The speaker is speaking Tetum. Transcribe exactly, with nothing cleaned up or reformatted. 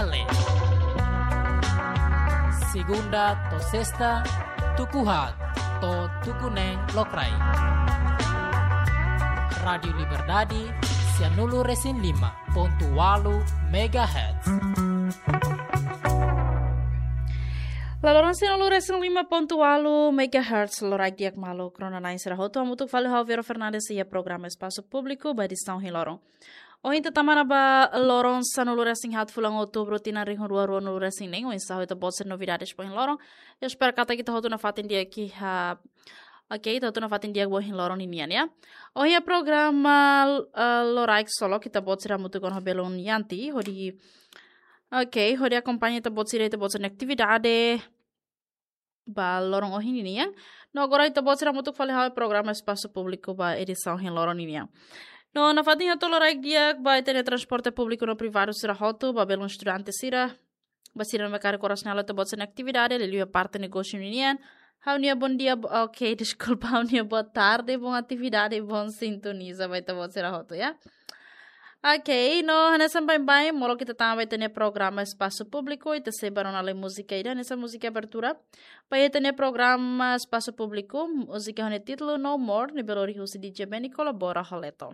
Ale. Segunda to'o sesta, tuku haat to'o tuku neen lokraik. Rádiu Liberdade, sianulu resin lima pontu ualu megahertz. Laloran sianulu resin lima pontu ualu megahertz, loraik di'ak maluk rona-na'in sira hotu, hamutuk fali ho Vero Fernandes iha programa Espasu Públiku ba edisaun ohin loron. Ohin ita tama ona ba loron sanulu resin haat fulan Outubru tinan rihun rua ruanulu resin neen, oinsá ho ita-boot sira novidades ba ohin loron. Espera katak ita hotu nafatin di'ak iha, oke, ita hotu nafatin di'ak ba ohin loron ninian, ya. Ohin iha programa, eh, loraik solok ita-boot sira hamutuk ona ho belun Yanti, hodi, oke, hodi akompaña ita-boot sira, ita-boot sira-nia atividade ba loron ohin ninian. No agora ita-boot sira hamutuk fali ho programa Espasu Públiku ba edisaun ohin loron ninian. No nafatin hato'o loraik di'ak ba ita-nia transporte públiku no privadu sira hotu, ba belun estudante sira, ba sira ne'ebé karik oras ne'e halo ita-boot sira-nia atividade, liuliu iha parte negósiu ninian. Ha'u-nia bondia, bo-, oke, deskulpa, ha'u-nia botarde, boa atividade, boa sintonia ba ita-boot sira hotu, ya. Oke, no hanesan baibain, molok ita tama ba ita-nia programa Espasu Públiku, ita sei bá rona lai múzika ida, hanesan múzika abertura ba ita-nia programa Espasu Públiku, múzika ho nia títulu No More, ne'ebé lori husi D J Benny kolabora ho Leto.